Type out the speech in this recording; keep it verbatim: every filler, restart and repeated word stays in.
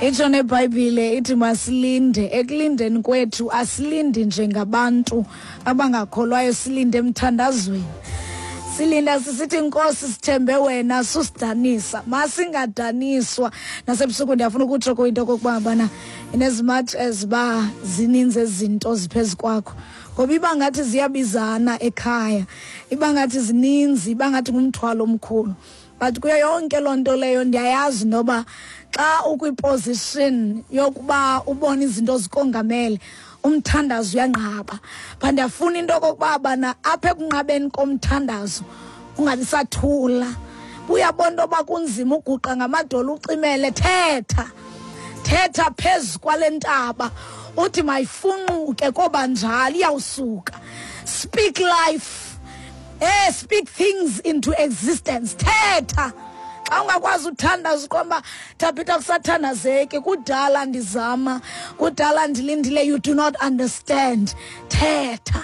Itsho neBhayibhile ithi masilinde. Ekulindeni kwethu asilindi njengabantu abangakholwayo, silinde emthandazweni. Silinda sisithi, Nkosi, sithembe wena, susidanisa. Masingadaniswa. Nasebusuku ndiyafuna ukutsho kuyinto okokuba ngabana in as much as uba zininzi ezi zinto ziphezu kwakho, ngoba iba ngathi ziyabizana ekhaya, iba ngathi zininzi, iba ngathi ngumthwalo omkhulu, but kuyo yonke loo nto leyo ndiyayazi noba xa ukwiposition yokuba ubone izinto zikongamele, umthandazo uyanqaba. But ndiyafuna into okokuba bana apha ekunqabeni komthandazo ungabi sathula. Uyabona into yoba kunzima uguqa ngamadolo ucimele, thetha, thetha phezu kwale ntaba, uthi mayifunquke, koba njalo, iyawusuka. Speak life, eh speak things into existence. Thetha. Xa ungakwazi uthandaza, uqomba Thabitha kusathandazeki, kudala ndizama, kudala ndilindile, you do not understand, thetha.